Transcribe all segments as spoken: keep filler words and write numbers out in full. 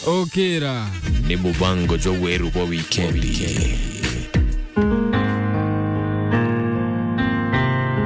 Okira. Ni mubango jwa weru bwa wikendi.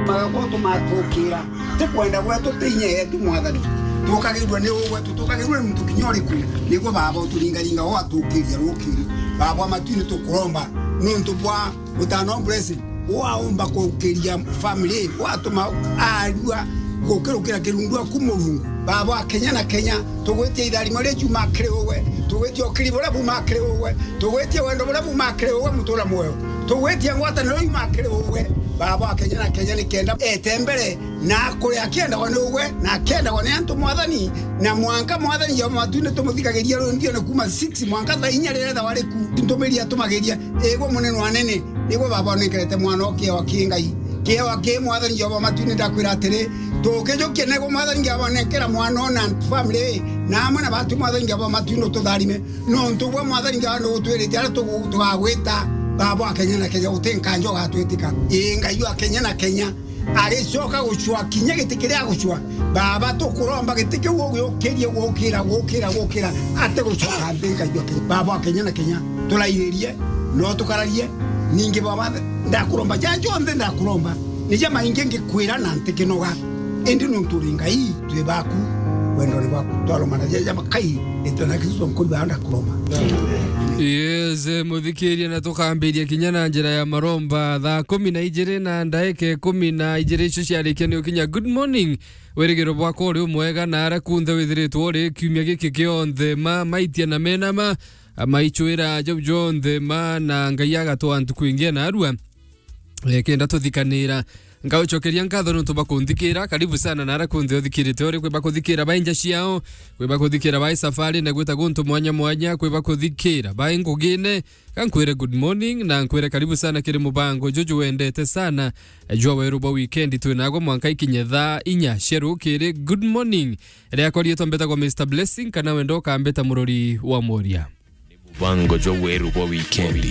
Magabo tumatukira, ti kwenda gwetu, ti inya yetu, Mwathani. Tukagirwa ni uu gwetu, tukagirwa ni muntu kinya uriku, niguo Baba uturingaringa, ugatukiria rukiri. Baba wa matu-ini, tukuromba nuntu bwa Mutano blessing, waumba kukiria family, watuma arua gukirukira kirundu aku Murungu. Baba wa Kenya na Kenya, tugwitia itharimo riria riuma kiri uwe, tugwitia ukiri buria buuma kiri uwe, tugwitia wendo buria buuma kiri uwe, mutura mwoyo, tugwitia ngwataniro iuma kiri uwe. Baba wa Kenya na Kenya, nikenda ete mbere na akuri akiendagwa ni ugwe, na akiendagwa ni antu, Mwathani, na mwanka, Mwathani Jehova, matu-ini tumuthigagiria rwimbione kuuma six mwanka thaa inya riria ethagwa riku, ntumiri atumagiria, igwe munene wa anene, nigwe Baba unenkerete mwana o kiewa ki Ngai. Kiewa ki, Mwathani Jehova, matu-ini ndakwira atiri, tukijukia nego, Mwathani Jehova, nenkera mwana o na family, na amwe na batu, Mwathani Jehova, matu-ini ututharime, nontu gwe, Mwathani Jehova, nugutwirite aria tugu-, tugagwita, Baba wa Kenya na Kenya, uti nkanja ugatwitika. Ii, Ngai wa Kenya na Kenya, agicoka gucua kinya giti kiria agucua. Baba, tukuromba giti kiu ugiukirie, gukira, gukira, gukira, ati gucoka nthi, Ngai wa Kenya. Baba wa Kenya na Kenya, turairirie, no tukararie, ningi Baba, ndakuromba, ja jonthe ndakuromba, ni ja maingi ngikwira na ntikinoga, indi nuntu uri Ngai, twi baku, wendone bwaku, twaromana ja ja makai, ritwa na Kristo nkuri baa ndakuromba. Yes, eh, muthikiria, na tukambiria kinya na njira ya maromba thaa kumi na ijiri na ndaika ikumi na ijiri icio ciarikia ni ukinya. Good morning. Wirigiro bwakwa uri umwega na aria kunthe withiritwe uri kiumia giki kionthe, ma maitia na menama, a, maicwira jau jonthe ma, na Ngai agatwaa ntuku ingi na arua. Eh, kenda tuthikanira. Ngaucokeria nkatho nontu bwa kunthikira. Karibu sana na aria kunthe uthikirite uri, kwi bakuthikira bai nja ciao, kwi bakuthikira bai safari na gwita guntu mwanya mwanya, kwi bakuthikira bai ngugine. Ka nkwire good morning na nkwire karibu sana kiri mubango juju wendete sana jwa weru bwa wikendi. Twi nagwo mwanka ikinye thaa inya cia rukiri. Good morning. Riakwa riitwa mbetagwa Mister Blessing, kana wenda ukambeta murori wa mworia. Mubango jwa weru bwa wikendi.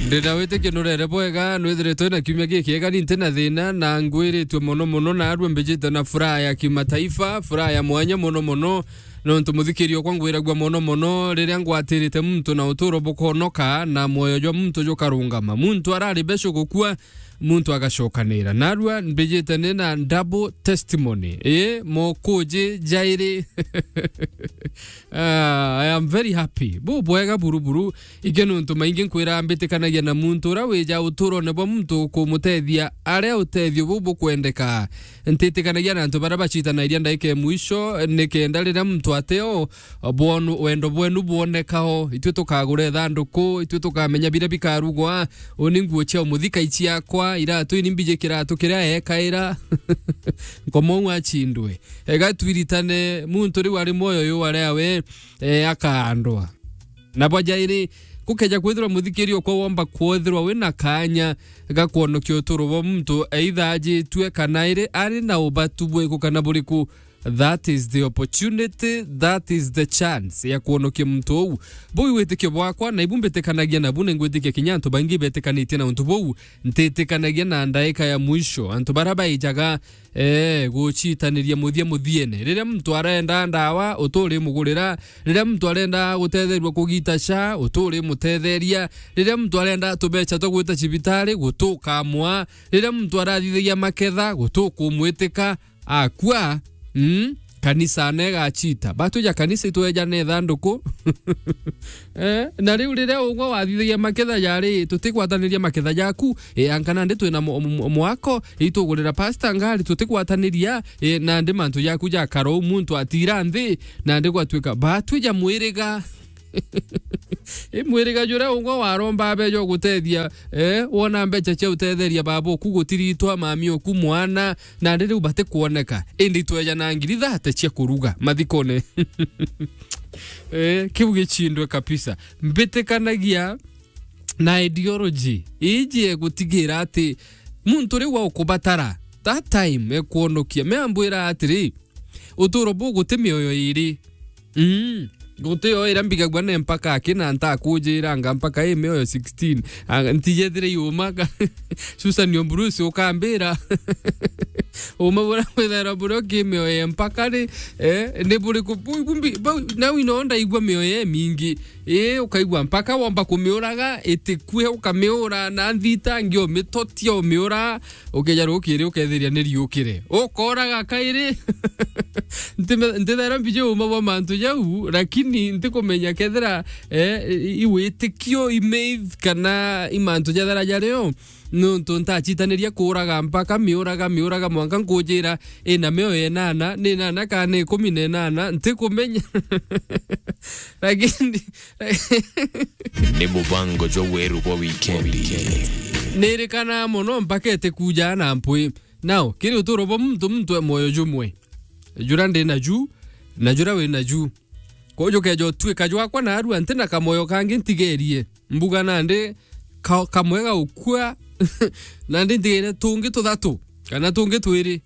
Ndina witikio nurere bwega, nwithiritwe na kiumia gikiega, ni nti na thina, na ngwiritue mono mono, na arua mbijite na furaha ya kimataifa, furaha ya mwanya mono mono, nontu muthikiria okwa ngwiragua mono mono riria ngwatirite muntu na uturo bukonoka, na mwoyo jwa muntu jukarungama. Muntu arari besho gukua, muntu agacokanira. Narua mbijite ni na double testimony. Ii, mokuji jairi. Ah, I am very happy. Bu bwega buru buru. Ingi nontu maingi nkwira mbitikanagia na muntu uria wija uturone bwa muntu kumutethia aria utethio bu bukwendeka. Ntitikanagia na antu baria bacitanagiria ndaika ya mwisho, nikenda riria muntu ateo bwonu-, wendo bwenu bwonekao. Itwi tukagura ithanduku, itwi tukamenya biria bikarugwa. Uni nguo cia umuthika iciakwa, iratu ini mbiji kiratu kiria ekaira. Nkomou acindwe. Ega twiritane, muntu riu ari mwoyo uyu aria we, eh, akaandwa. Na bwa jairi, gukeja kwithirwa muthikiria okwa womba kwithirwa wina kanya ga kwonokia uturo bwa muntu eithaajitue kana iri ari na ubatu bwiku kana buriku, that is the opportunity, that is the chance ya kwonokia muntu uu. Buu i witikio bwakwa, na ibu mbitikanagia nabu, na ingwitikia kinya antu baingi betikanitie na untu buu. Ntitikanagia na ndaika ya mwisho. Antu baria baijaga, ee, gucitaniria muthia muthiene. Riria muntu arenda ndawa, uturimugurira. Riria muntu arenda gutetherua kugita sha, uturimutetheria. Riria muntu arenda tubecha twa gwita cibitari, gutukamwa. Riria muntu arathithagia maketha, gutukumwitika. Akua, mm, kanisa na igachita. Batwija kanisa itweja na ithanduku. Eh, na riu riria ugwa wathithagia maketha jari, tutigwataniria maketha jaku, eh, anga nandi twina mo-, mo-, mwako, itugurira pastor ngari, tutigwataniria, eh, nandi mantu jaku jakara uu muntu atira nthi, nandi gwatwika batwija mwiriga. I mwiriga juria ugwa waromba abeja ugutethia, eh, wona mbecha cia utetheria baba oku, gutiritwa mami oku, mwana, nandi riu batikwoneka. Indi tweja na ngiri thate cia kuruga mathikone. Eh, kiu gichindwe kabisa. Mbitikanagia na ideology iji egutigira ati muntu riu aukubatara that time ekwonokia. Me ambwira atiri, uturo bu guti mioyo iri. Mm. Guti yo iria mbigagua ne mpaka aki na ntakujiranga mpaka i mioyo sixteen. Anga ntijethire yuma ka. Susan Ombrus ukambira. Uma buria bwithairwa burio ki mioyo ya mpaka ri, eh, ni buriku? Bu-, bu-, mbi-, bau, nau ino ndaigua mioyo ya mingi. Ii, ukaigua mpaka womba kumiuraga, itikue, ukamiura na nthita, ngi umitotia, umiura, ukeja rukiri, ukethiria ni riukire. Ukoraga kairi. Ntime-, ntithaira mbiji uma bwa mantu jau, lakini ntikumenya kethira, eh, i, i witikio, i myth, kana i mantu jathara jario. Nontu ntachitaniria kuuraga mpaka miuraga, miuraga mwanka nkujira ina mioyo enana, ni enana kana ni ikumi na enana, ntikumenya. Lakini ni mubango jwa weru bwa wikendi. Nirikana mono mpaka itikuja na mpwi. Nao, kiri uturo bwa muntu, muntu e moyo jumwe. Jura ndi naju, na jura wi naju. Koju keja utuika jwakwa narua, nti na kamoyo kangi ntigerie. Mbuga nandi ka-, kamwe gaukua, nandi ntigerie tungi tuthatu, kana tungi twiri.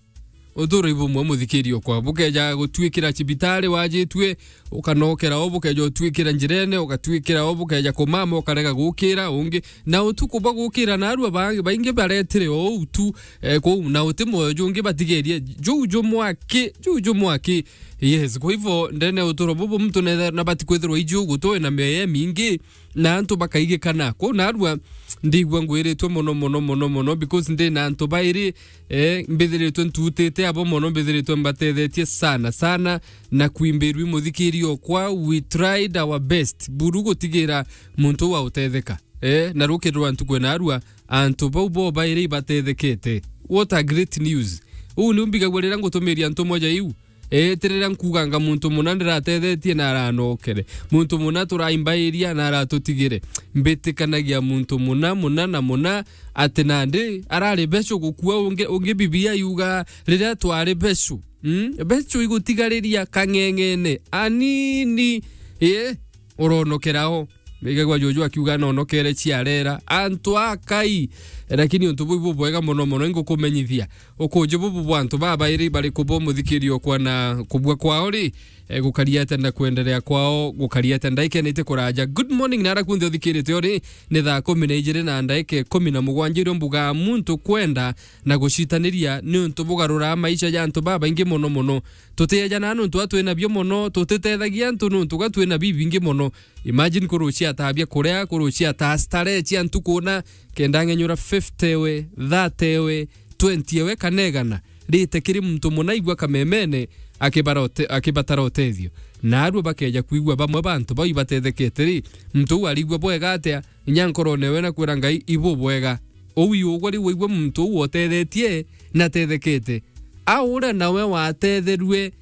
Uturo ibumwe muthikiri okwa. Bukeja gutuikira cibitari wajitue, ukanokera o, bukeja utuikira njirene, ugatuikira o, bukeja kumama, ukarega gukira ungi. Na utuku bwa gukira narua ba-, baingi baretire o u tu, eh, kuu, na uti moyo jungi batigerie. Juu jumwaki, juu jumwaki. Yes, kwa hivyo, ndene uturo bubu muntu netha-, nabati kwithirwa iju gutwe na mioyo mingi, na antu bakaigikana. Kwou narua ndigua ngwiritwe mono, mono, mono, mono, because ndi na antu bairi, eh, mbithiritwe ntutite abo mono, mbithiritwe mbatethetie sana, sana, na kwimbirwi muthikiri okwa, we tried our best buru gutigira muntu uu autetheka. Eh, na rukiri rwa ntuku narua, antu bau bo bairi ibatethekete. What a great news! Uu niu mbigagua riria ngutumiria ntumwa ja iu. Ii, ti riria nkuganga muntu muna ndiratethetie na aranokere. Muntu muna turaimbairia na aratutigire. Mbitikanagia muntu muna, muna na muna, ati nandi arari becu gukua ungi, ungi Biblia yuga riria twari becu. Mm? Becu igutigariria kang'eng'ene anini. Ii, uronokera o. Igagwa juju akiuga anonokere ciarera. Antu akai. Lakini untu buu bubwega mono mono, ingukumenyithia. Ukuuji bubu bwa antu babairi bariku bo muthikiri okwa na kubua kwao ri, eh, gukaria atia na kwenderea kwao gukaria atia? Ndaikenete kuraja. Good morning, nara kunthe uthikirite uri, ni thaa kumi na ijiri na ndaika ikumi na mugwanja irio mbugaa muntu kwenda na gucitaniria ni untu bugaruraa maisha ja antu babaingi mono mono. Tutiejanaa nuntu atwi nabio mono, tutitethagia antu nuntu ga twi na bibingi mono. Imagine kurucia ataa bia kuria, kurucia ataa starehe cia ntuku na, kenda ang'enyura fifty ewe, thirty ewe, twenty ewe kana igana, rite kiri muntu muna aigua kamemene akibarote-, akibatara utethio. Naarua bakeja kwigua bamwe ba antu bau ibatethekete ri, muntu uu arigua bwega atia? Inya nkorone ewe na kwira Ngai ibu bwega. Uu iugwa riu waigua muntu uu otethetie na atethekete. A uria nawe watetherue,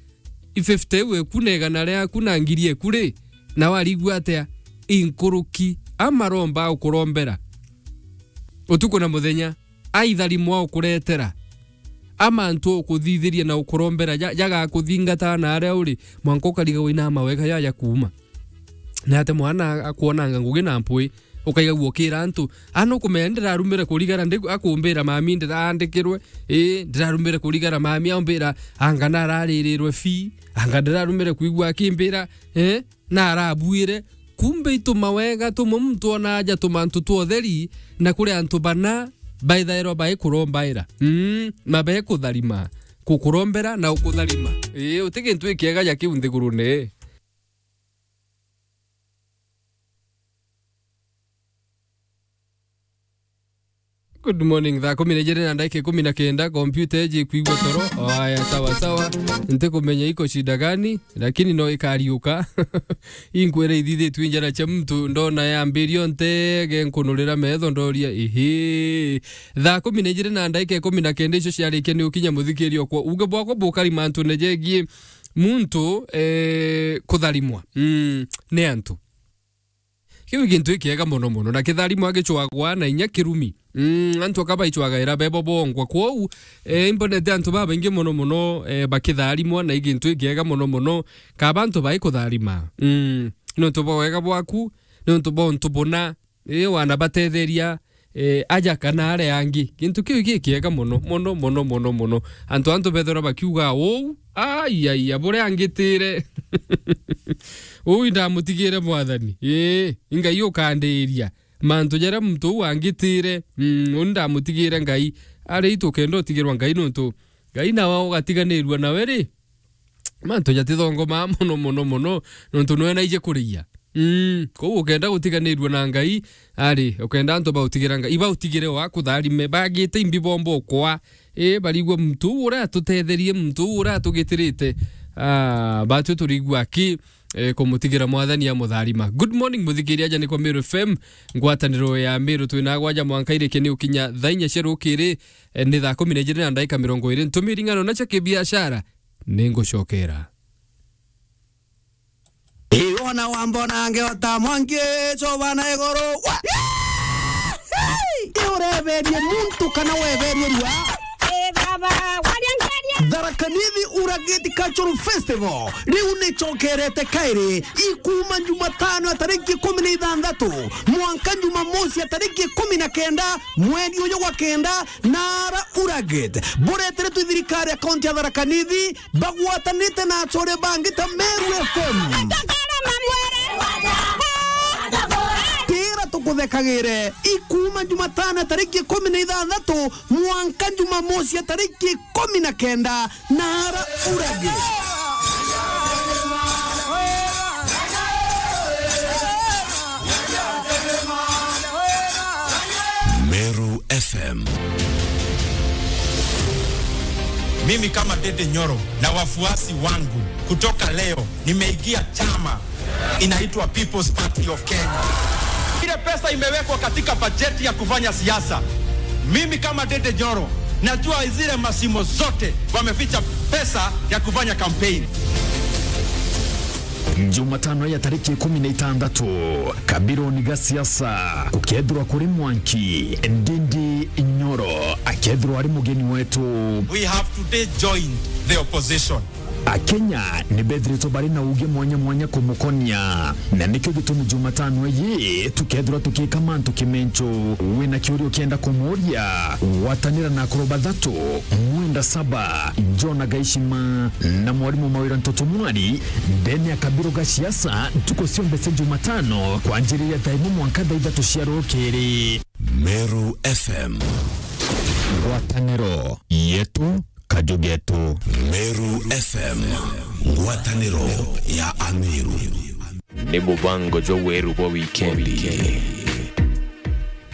i fifty iu eku na igana riaku na ngiri eku ri, nawe arigua atia? Inkuruki amaromba ukurombera utuku na muthenya, aitharimwa ukuretera, amantu ukuthithiria na ukurombera ja-, jagakuthingata na aria uri, mwanka ukarigagwa ina mawega jaja kuuma. Na ati mwana akwonanga ngugi na mpwi, ukaigagua ukira antu, "Ana ukumenya ndirarumire kurigara ndi-, akumbira mami ndiraandikirwe, ii, ndirarumire kurigara mami aumbira, anga nararirirwe fi, anga ndirarumire kwigua akimbira, eh, na arabuire." Kumbe itu mawega tumwe muntu ona aja tumantu twa utheri, na kuri antu bana baithairwa baikurombaira. Mm, na bekutharima, kukurombera na ukutharima. Ii, uti gintu ikiega ja kiu nthigurune. Good morning. Thaa kumi na ijiri na ndagika ikumi na kenda, kompyuta iji ikwigua toro. O, aya, sawa, sawa. Ntikumenya iko shida gani, lakini no ikariuka. Inkwira ithithitue njara cia muntu, ndona yambirio ntege nkunurira metho, ndoria, ihi. Thaa kumi na ijiri na ndagika ikumi na kenda icio ciarikia ni ukinya muthikiri okwa. Uge bwakwa bukari mantune jegie muntu, eh, kutharimwa. Mm, ni antu. Kiu gintu ikiega mono mono, na kitharimo agicwagwa na inya kirumi. Mm, antu aka baicwagaira bebo bongwa. Kwou, eh, imbonete antu babaingi mono mono, eh, bakitharimwa, na igintu ikiega mono mono, kaba antu baikutharima. Mm, nontu bwa wega bwaku, nontu bwa untu buna, eh, wana batetheria, eh, aja kana aria angi. Gintu kiu gikiega mono, mono, mono, mono, mono. Antu, antu bethirwa bakiuga uu, ai, ai, ai, buria angitire. Uu indamutigire Mwathani. Ii, i Ngai ukandiiria. Mantu jaria muntu uu angitire, mm, uu indamutigire Ngai. Ari itu kenda utigirwa Ngai nontu Ngai nawe ugatiganirua nawe ri, mantu jatithongomaa mono, mono, mono, nontu nwe naije kuriia. Mm, kou ukenda gutiganirua na Ngai, ari, ukenda antu bautigira Ngai, ibautigire o akutharime, bagite imbi bomba ukwa. I, barigua muntu uu uria atutetherie, muntu uu uria atugitirite. Ah, batwi turigua aki, eh, kumutigira Mwathani amutharima. Good morning, muthikiria, aja ni kwa Meru F M, ngwataniro ya Meru, twina gwaja mwanka irike ni ukinya thaa inya cia rukiri, eh, ni thaa kumi na ijiri na ndaika mirongo iri. Ntumiri ng'ano na cia kibiashara, ni ngucokera. Iona wambona ngeota mwanki, cobana iguru. Wa- Iureberie muntu kana weberie rua? Eh, baba, waria nkaria. Tharaka Nithi Uragiti Cultural Festival riu nicokerete kairi, ikuma Jumatano ya tariki ikumi na ithanthatu mwanka Jumamosi ya tariki ikumi na kenda mweri uyu gwa kenda, nara Uragit bureteretwe i thirikari ya kaunti ya Tharaka Nithi bagwatanite na achore bangi ta Meru F M. Tira tukuthekagire, ikuma Jumatano ya tariki ikumi na ithanthatu mwanka Jumamosi ya tariki ikumi na kenda, nara Uragit. Meru F M. Mimi kama Dede Nyoro na wafuasi wangu, kutoka leo nimeingia chama inaitwa People's Party of Kenya. Ile pesa imewekwa katika bajeti ya kufanya siasa, mimi kama Dede Nyoro najua zile mashimo zote wameficha pesa ya kufanya campaign. Jumatano ya tariki ikumi na itandatu, kabironi ga siasa gukethirwa kuri Mwanki, Ndindi Nyoro akethirwa ari mugeni wetu. We have today joined the opposition. Akenya ni bethiritwe bari na uge mwanya mwanya kumukonia, na nikio gitumi Jumatano iyi tukethirwa tukika mantu kimencho. Wina kiuria ukienda kumuuria, gwatanira na akuru bathatu, Mwenda Saba, Jona Gaishima na mwarimu Mawira Ntoto Mwari, ndene ya kabiro ga siasa, ntuku cionthe cia Jumatano, kwanjiriria thaa imwe mwanka thaa ithatu cia rukiri. Meru F M. Ngwataniro yetu, kaju getu. Meru F M, ngwataniro ya Ameru. Ni mubango jwa weru bwa wikendi.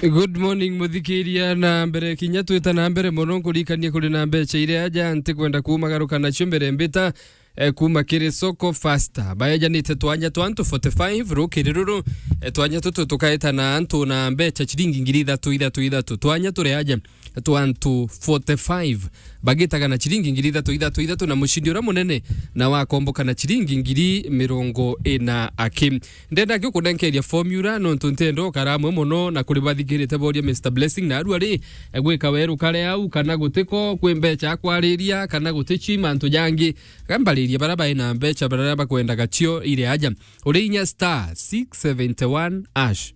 Good morning, muthikiria. Na mbere kinya twita na mbere mono, nkurikanie kuri na mbeca iria aja ntikwenda kumagaruka nacio mbere mbita, eh, kuma kiri Soko Fasta. Baejanite twanya twa antu forty-five rukiri ruru, eh, twanya tutu tukaeta na antu na mbeca ciringi ngiri ithatu, ithatu, ithatu. Twanya turi aja twa antu forty-five bagitaga na ciringi ngiri ithatu, ithatu, ithatu, na mucindi uria munene na wakomboka na ciringi ngiri mirongo ina aki. Ndenda ki kunenkeria formula, nontu ntenda ukara amwe mono na kuri bathikirite boria Mister Blessing, na arua ri, e, gwika weru kare au, kana gutiko, kwi mbeca akwariria, kana gutici mantu jangi. Gambaririe bara bai na mbeca, bara bakwendaga cio iri aja. Uri inya star six seventy one hash.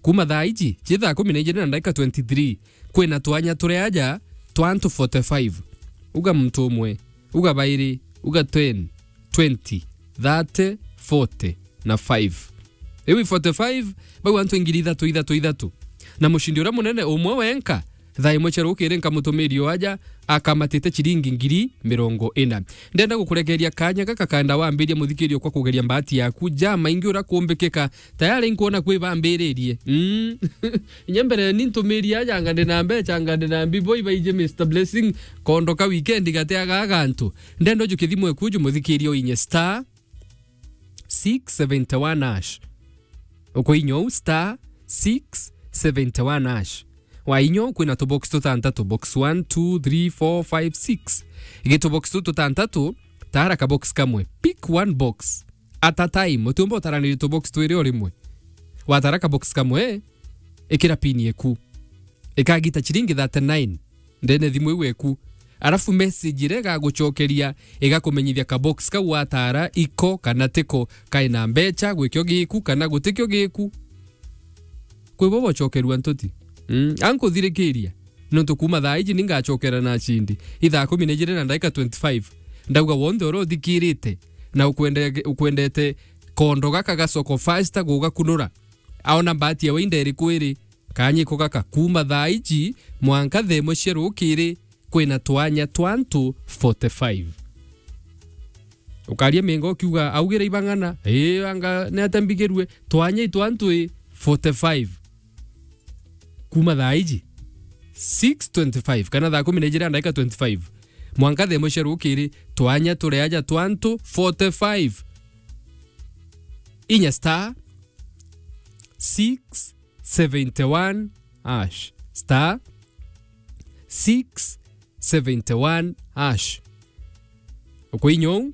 Kuma thaa iji, ci thaa kumi na ijiri na ndagika twenty-three, kwina twanya turi aja twa antu forty-five. Uga muntu umwe, uga bairi, uga ten, twenty, thirty, forty na five. Riu i forty-five, bau antu ngiri ithatu, ithatu, ithatu. Na mucindi uria munene umwe wenka, thaa imwe cia rukiri nkamutumiria o aja, akamatite ciringi ngiri mirongo ina. Ndenda gukurekeria kanya gaka kanda wambiria muthikirio kwa kugeria mbati yaku. Ja maingi uria kumbikika, tayari nkwona kwi bambiririe. Mm. Inya mbere ni ntumiria aja anga ndi na mbeca, anga ndi na mbibo ibaije Mister Blessing, kondo ka weekend gateaga gantu. Ndenda ujukie thimu eku uju muthikirie uinye star six seventy one hash. Ukuinya uu star six seventy one hash. Wainya uu kwina tubox tutantatu, box one, two, three, four, five, six. Gi tubox tu tutantatu, tara kabox kamwe. Pick one box at a time. Utiumba utaraniria tubox twiri o rimwe. Watara kabox kamwe, ikira pin yeku. Ikagita ciringi thirty nine ndene thimu iu eku. Arafu message iria igagucokeria igakumenyithia kabox kau watara iko kana tiko, kaina mbeca, gwikio giku kana gutikio giku. Kwi bo bocokerua ntuti. Mm, ankuthirikiria. Nontu kuma thaa iji ningacokera na cindi. I thaa kumi na ijiri na ndagika twenty-five. Ndauga wonthe uria uthikirite na ukwende-, ukwendete kondo gaka ga Soko Fasta gugakunura. Aona mbati yawe inda iriku iri, kanyiko gaka kuma thaa iji mwanka thaa imwe cia rukiri, kwina twanya twa antu forty-five. Ukaria mingo ukiuga, "Augire ibang'ana, ii, anga ni atia mbigirue?" Twanya i twa antu i forty-five. Kuma thaa iji, six twenty-five, kana thaa kumi na ijiri na ndagika twenty-five, mwanka thaa imwe cia rukiri, twanya turi aja twa antu forty-five. Inya star six seventy-one hash. Star six seventy-one hash. Ukuinya uu,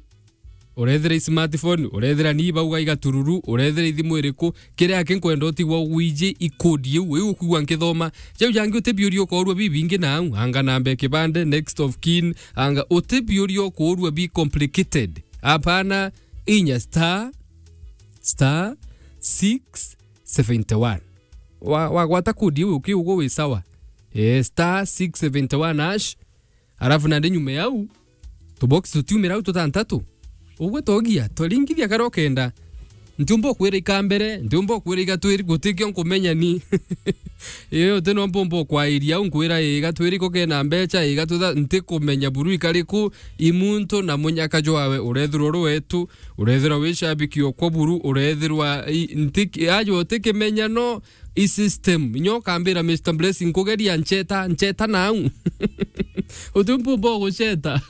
urethira i smartphone, urethira ni bauga igatururu, urethira ithimu iriku, kiria aki nkwenda utigwa ugwiji i code iu, iu ukwigua nkithoma. Jau jangi utibiuria ukoorua bibingi nau, anga namba ya kibande, next of kin, anga utibiuria ukoorua bi complicated. Apana, inya star, star six seventy-one. Wa, wagwata code iu ukiugwa wi sawa. Eh, star six seventy-one hash. Arafu nandi nyuma yau, tubox tutiumira au tutantatu. Ugwe togia, twaringithia kara ukenda. Ntiumba ukwira ikambere, ntiumba ukwira igatwiri, gutikio nkumenya ni. Ii, uti no mpumba ukwairia au nkwira, ii, igatwiri ko kena mbecha, ii, igatutha, ntikumenya buru ikariku, i muntu na munyaka jwawe, urethirwa uri wetu, urethirwa wi shabiki okwa buru, urethirwa i, nti, ajo utikimenya no, i system. Inya ukambira, "Mister Blessing, nkugeria ncheta, ncheta nau." Uti mpumba ugucheta.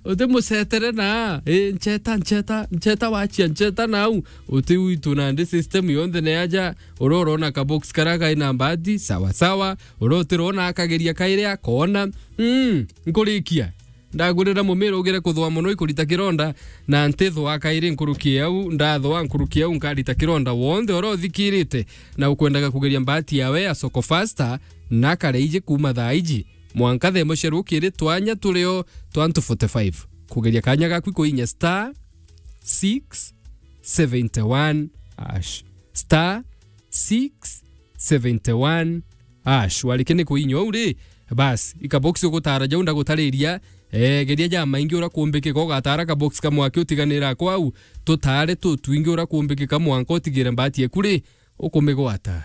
Uti mucetere na, "Eh, ncheta, ncheta, ncheta wachia, ncheta nau." Uti uitu nandi system yonthe ni aja, uria urona kabox karia kai na mbati, sawa sawa. Uria utirona akageria kairi akoona. Mm, nkurikia. Ndagurira mumira ugire kuthua mono ikurita kironda, na ntithua kairi nkuruki au, ndathua nkuruki au nkarita kironda. Wonthe uria uthikirite na ukwendaga kugeria mbati yawe ya Soko Fasta, na kare iji kuma thaa iji mwanka thaa imwe cia rukiri, twanya turio twa antu forty-five. Kugeria kanya gaku kuinya star six seventy-one hash. Star six seventy-one hash. Warike ni kuinya uu ri, bas, ikabox ugutara jau ndagutariria, eh, geria jamaingi uria kumbikika, ugatara kabox kamwe aki utiganira kwau, tutare tutwingi uria kumbikika mwanka utigire mbati eku ri, ukumigwata.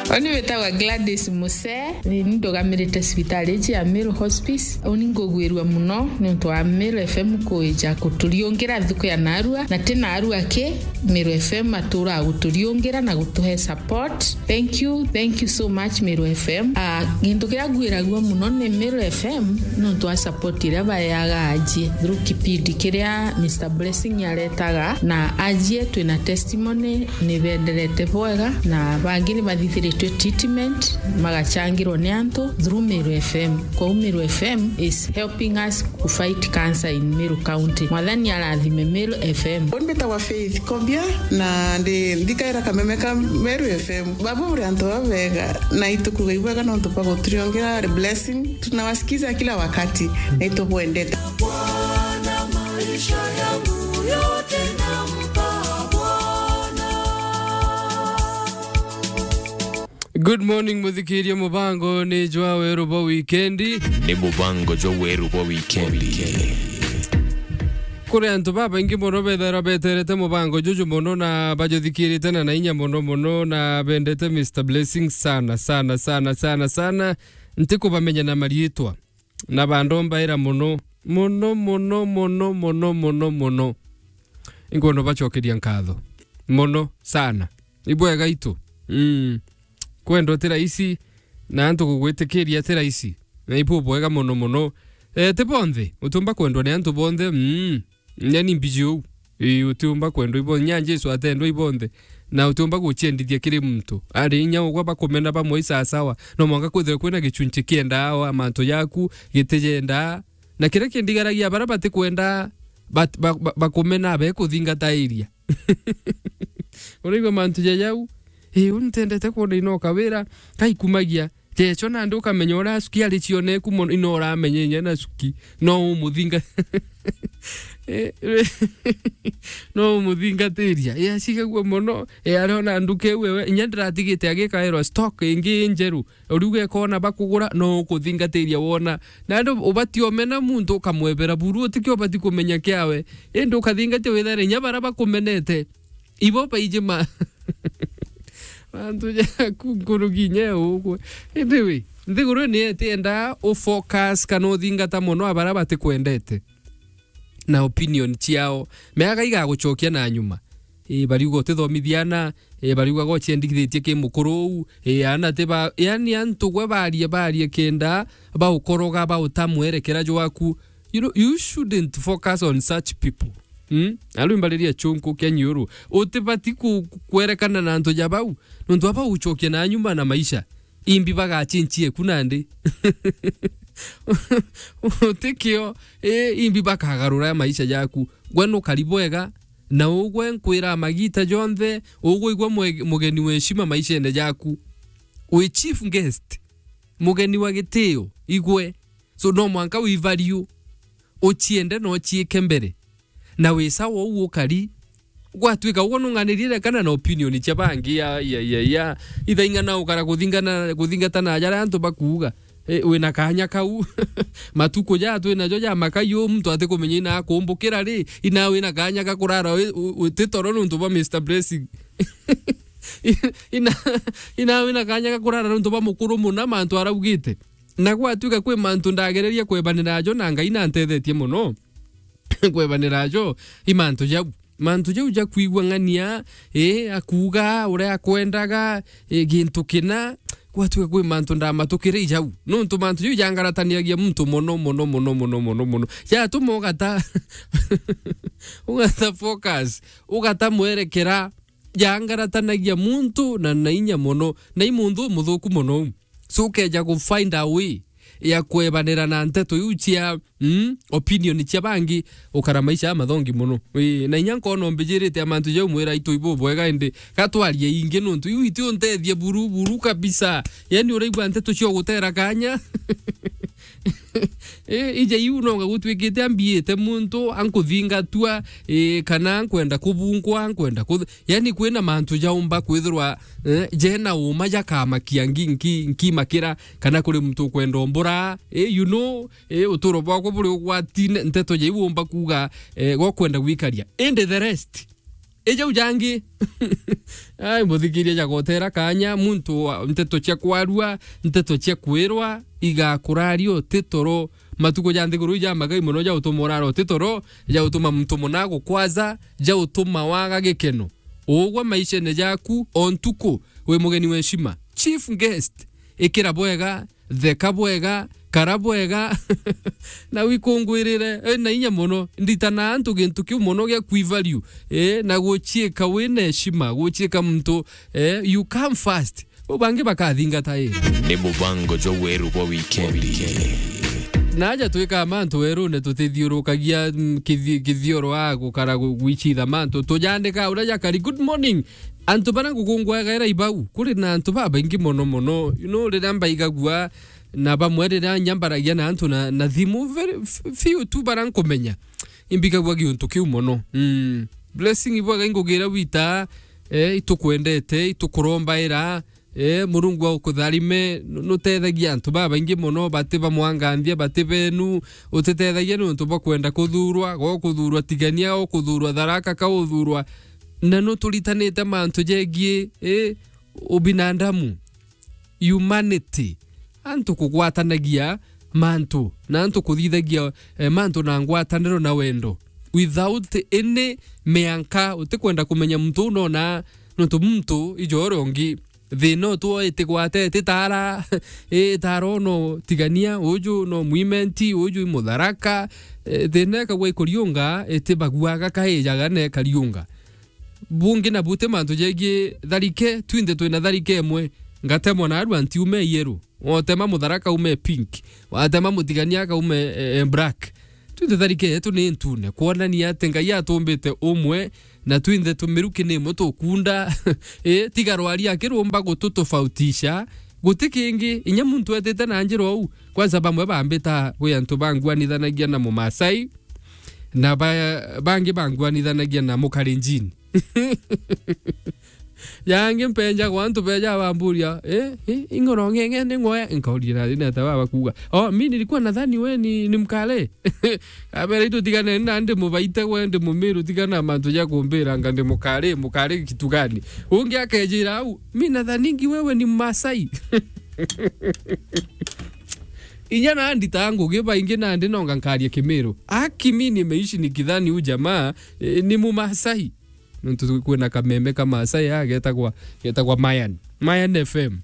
Oni witagwa Gladys Muse. Ni ndugamirite cibitari iji ya Meru Hospice. Uni ngugwirua muno niuntu wa Meru F M kwija kuturiungira thuku ya narua, na ti narua ki, Meru F M atura guturiungira na gutuhe support. Thank you, thank you so much, Meru F M. Ah, gintu kiria ngwiragua muno ni Meru F M niuntu wa support iria baeaga ajie through kipindi kiria Mister Blessing aretaga, na ajie twina testimony ni benderete bwega, na bangi ni bathithiritwe treatment, magachangirwa ni antu through Meru F M. Kwou Meru F M is helping us to fight cancer in Meru County. Mwathani arathime Meru F M. Uni mbitagwa Faith Kobia, na ndi, ndikaira kameme ka Meru F M. Baba uri antu babega, na itukuga ibwega nontu bwa guturiongera blessing. Tunawasikiza kila wakati, na itubwendete. Bwana, maisha yangu yote nampa Bwana. Good morning, muthikiria. Mubango ni jwa weru bwa wikendi. Ni mubango jwa weru bwa wikendi. Kuri antu babaingi mono bethairwa beterete mubango juju mono na bajuthikirite na, na inya mono mono na bendete Mister Blessing sana, sana, sana, sana, sana. Ntikubamenya na mariitwa. Na bandombaira mono, mono, mono, mono, mono, mono, mono. Inkwenda bacokeria nkatho mono sana. Ibwega itu. Mm. Kwendwa ti raisi, na antu gugwitikiria ti raisi. Na ibu bwega mono mono. Eh, ti bonthe utiumba kwendwa ni antu bonthe. Mm. Nyani mbiji uu. Ii, utiumba kwendwa ibo-, nya Jesu atendwa ibonthe. Na utiumba guciendithia kiri muntu. Ari inya ugwe bakumena bamwe i sawasawa. No mwanka kwithirwe kwina gichunchi kiendaa o mantu jaku, gitijendaa. Na kiria kindigaragia, baria batikwenda bat-, ba-, ba-, bakumena, bekuthingatairia. Uraigua mantu ja jau? Ii, uni ntendete kwona ino kawira, kaikumagia. Jecho nandi ukamenya uria acuki ari cioneku mono, ino uramenya inya na acuki. No umuthinga-, Eh, no umuthingatiria. Eh, acigagua mono. Eh, ariona nduka iu ewe, inya ndiratigite agikairwa stock ingi njeru. Uriuga ikona bakugura, no ukuthingatiria wona. Nandi ubati omena muntu ukamwebera buru, utikio ubati kumenya kiawe. Indi ukathingatia withare inya baria bakumenete. Ibo baiji ma-, Antu jaku nkuruki inya ugwe. Anyway, nthiguru ni etienda u focus kana uthingata mono a baria batikwendete na opinion ciao. Meaga igagucokia na nyuma. Ii, bariuga utithomithia ana, ii, bariuga gociendikithitie ki mukuru uu, ii, ana ti ba, yani antu gwe barie, barie kenda baukoroga, bauta mwerekera jwaku. You know, you shouldn't focus on such people. Hmm? Aru imbariria chunku kia nyuru. Utibati ku-, ku-, kwerekana na antu ja bau. Nontu aba ucokia na nyuma na maisha. Imbi bagachinchie ku nandi. Utikio, ii, imbi bakagarura maisha jaku. Gwe nukari bwega, na ugwe nkwira magita jonthe, ugwe igwe mwe-, mugeni wa heshima maishene jaku. Wi chief guest, mugeni wa gitio, igwe. So no mwanka wi value, uchiende na uchiike mbere. Na wi sawa uu ukari, gwatuika ugwe nung'anirie rekana na opinion cia bangi, ya, ya, ya, ya. Ithaing'ana ukara kuthingana, kuthingatana jaria antu bakuuga. E, wina kanya kau. Matuku jaa twinajo ja makai uu, muntu atikumenya ina akumbukira ri, ina wina kanya ga kurara wi-, wi-, witi toro nontu bwa Mister Blessing. Ina, ina wina kanya ga kurara nontu bwa mukuru muna mantu araugite. Na gwatuika kwi mantu ndagereria kwebanira jo na Ngai nantethetie mono. Kwebanira jo, i mantu jau. Mantu jau ja kwigua ng'ania, ii, akuuga uria akwendaga, ii, gintu kina, gwatuika kwi mantu ndamatukire i jau. Nontu mantu jau jangarataniagia muntu mono, mono, mono, mono, mono, mono. Jatuma ugata, ugata focus, ugata mwerekera, jangaratanagia muntu na, na inya mono, na i muntu umuthuku mono. So ukeja ku find a way ya kwebanira na nteto iu cia, mm, opinion cia bangi, ukara maisha amathongi mono. Ii, na inya nkoona umbijirite a mantu jau mwira itu ibu bwega, indi gatwarie ingi nontu iu iti untethie buru, buru kabisa. Yani uraigua nteto cia gutera kanya. Ii, ija iu nonga gutwikite ambiite muntu ankuthingatua, ii, kana ankwenda kubungwa, ankwenda kuth-, yani kwina mantu jaumba kwithirwa, eh, jena uma jakamakia ngi-, nki-, nkimakira, kana kuri muntu ukwenda umbura, eh, you know, eh, uturo bwakwa buri ugwatine, nteto ja iu umba kuuga, eh, gokwenda gwikaria. Indi the rest, ijau jangi. Ai, muthikiria jagotera kanya, muntu wa, nteto cia kwarua, nteto cia kwirwa, igakuraria uti toro. Matuku ja nthiguru ija magai mono ja utuma urara uti toro, ja utuma muntu muna gukwaza, ja utuma waga gikeno. Ugwe maishene jaku, o ntuku, wi mugeni wa heshima. Chief guest, ikira bwega, theka bwega, kara bwega, na wikungwirire, eh, na inya mono. Nditana antu gintu kiu mono gia kwi value, eh, na guchiika wina heshima, guchiika muntu, eh, you come first. Bo bangi bakathingata, eh. Ni mubango jwa weru bwa wikendi. Na aja twika mantu werune tutithiurukagia, mm, kithi-, kithioro a gukara gu-, gwichitha mantu. Tujandika uria jakari. Good morning. Antu baria ngukungwaga era ibau, kuri na antu babaingi mono mono. You know, riria mbaigagua na bamwe riria nyambaragia na antu na, na thimu, very f-, few tu baria nkumenya. Imbigagua giuntu kiu mono. Mm. Blessing ibwaga ingugira wita, eh, itukwendete, itukurombaira, eh, Murungu aukutharime, nu-, nutethagia antu babaingi mono, bati ba mwanganthia, bati benu, utitethagia niuntu bwa kwenda kuthurwa, gokuthurwa Tigania, gokuthurwa Tharaka, kauthurwa. Na nuturitanite mantu jegie, eh, ubinadamu, humanity, antu kugwatanagia mantu, na antu kuthithagia, eh, mantu na ngwataniro na wendo, without any mianka, utikwenda kumenya muntu uu nona, nontu muntu ijo uria ungi. Thina utu itigwate, ititara, itara no Tigania, uju no Mwimenti, uju i Mutharaka, eh, thina ikagwa ikuriunga, itibaguaga kaijaga na ikariunga. Bungi na buti mantu jegie tharike, twinthe twina tharike imwe. Ngatemwa na arua ntiume yellow. Watema Mutharaka ume pink. Watema Mutigania akaume, eh, eh, black. Twinthe tharike yetu ni ntune. Kwonania ati Ngai atumbite umwe, na twinthe tumiruki ni imwe tukunda. Eh, tiga rwari akirumba gututofautisha. Guti kingi, inya muntu etite na njira uu. Kwanza bamwe bambita kwi antu banguanithanagia na Mumasai, na ba-, bangi banguanithanagia na Mukalenjin. Yangi mpenja kwa antu beja bamburia, "Eh, eh, ing'ono ng'eng'e ni ng'oe?" Nkauria, "Na, na ta baba kuuga." "Oh, mi nilikuwa nadhani we ni, ni mkale." Abera, "Itutigane na ndi mubaite we, ndi mumiru, tigana na mantu ja kumbira nga ndi mukari, mukari kitu gani?" Ungi akejira au, "Mi nadhaningi wewe ni Mmasai." Inya nandi ta ngugi baingi nandi nonga nkaria kimiru. Aki mi nimeishi nikidhani huyu jamaa, eh, ni Mumasai. Nontu kwina kameme ka Maasai aa getagwa, getagwa Mayan. Mayan F M.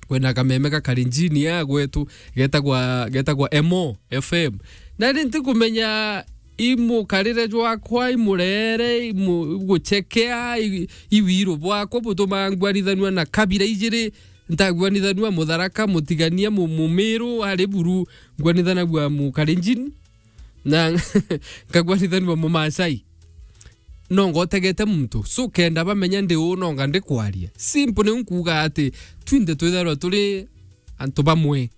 Kwina kameme ka Kalenjin aa gwetu getagwa, getagwa Emo F M. Na ri ntikumenya i mukarire jwakwa, i murere, i mu-, guchekea, i, i wiru bwakwa butumaa ngwanithanua na kabira ijiri, ntagwanithanua Mutharaka, Mutigania, mu-, Mumiru, ari buru, ngwanithanagua Mukalenjin. Na nkagwanithanua Mumaasai. No ngotegete muntu. So, kenda bamenya ndi uu, nonga ndikwaria. Simple ni nkuuga ati twinthe twithairwa turi antu bamwe.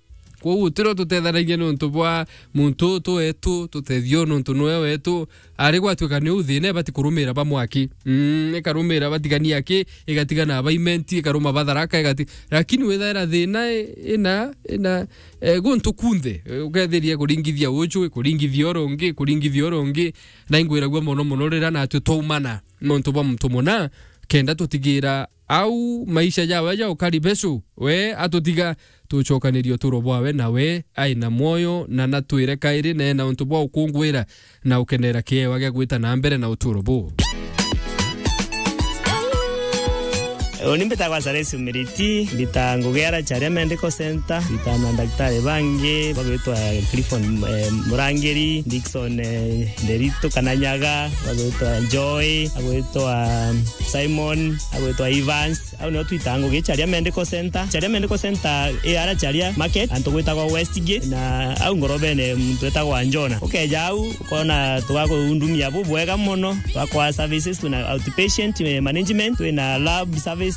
Kwou tiro tutethanagia nontu bwa muntu uu tu wetu, tutethio nontu niwe wetu. Ari gwatuika ni uu thina ibati kurumira bamwe aki. Mm, ikarumira batigania aki, igatigana ba Imenti, ikaruma ba Tharaka, igati-, lakini withaira thina i-, ina, ina, eh, guntu kunthe, eh, ukethiria kuringithia uju, kuringithia uru ungi, kuringithia uru ungi, na ingwiragua mono mono riria natwi twaumana nontu bwa muntu muna, kenda tutigira au maisha jawe ja ukari becu, we atutiga tucokanirie uturo bwawe nawe ai na mwoyo, na natwire kairi na ena untu bwa ukungwira na ukenera kiewa gia gwita na mbere na uturo buu. Uni mbitagwa Charles Umiriti, mbita ngugi ara Charia Medical Center, mbita na ndagitari bangi bagwitwa Clifford, eh, Murangiri, Dickson, eh, Nderitu kana Nyaga, bagwitwa Joy, bagwitwa Simon, bagwitwa Evans. Au nio twitaga ngugi Charia Medical Center. Charia Medical Center i ara Charia Market, antu gwitagwa Westgate, na au ngorobene muntu witagwa Njona. Ukeja au, ukona tugakundumia bubwega mono. Twakwa services, twina outpatient, eh, management, twina lab services,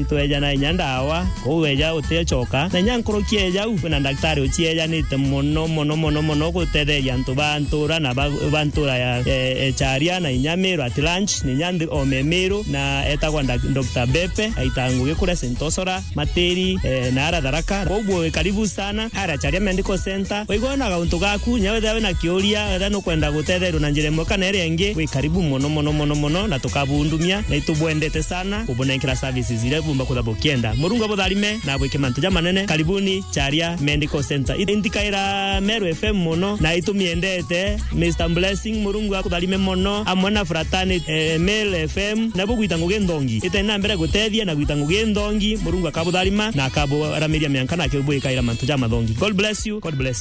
itwejana inya ndawa, kou weja uticoka. Na inya nkuruki eja au, kwina ndagitari uciejanite mono, mono, mono, mono gutetheria antu ba ntura na ba, ba ntura ya, eh, eh, Charia na inya Meru at lunch, na inya nthi ome Meru, na etagwa nda-, Doctor Bepe, aita ngugi kuria Saint Osora, Matiri, eh, na ara Tharaka. Koguo wi karibu sana, ara Charia Medical Center. Waigua wina gauntu gaku, nya wethira wina kiuria, wethira nukwenda gutetherua na njira imwe kana iria ingi, wi karibu mono, mono, mono, mono, na tukabundumia, na itubwendete sana kubunenkera services iria bumba kwithirwa bukienda. Murungu abutharime na abwike mantu jamanene. Karibuni Charia Medical Center. Intikaira Meru F M mono, na itumiendete. Mister Blessing, Murungu akutharime mono, amwe na fraternity, eh, Meru F M, na bugwita ngugi nthongi. Iteni na mbere gutethia na gwita ngugi nthongi, Murungu akabutharima na akaburamiria mianka na akibwikaira mantu jamathongi. God bless you. God bless you.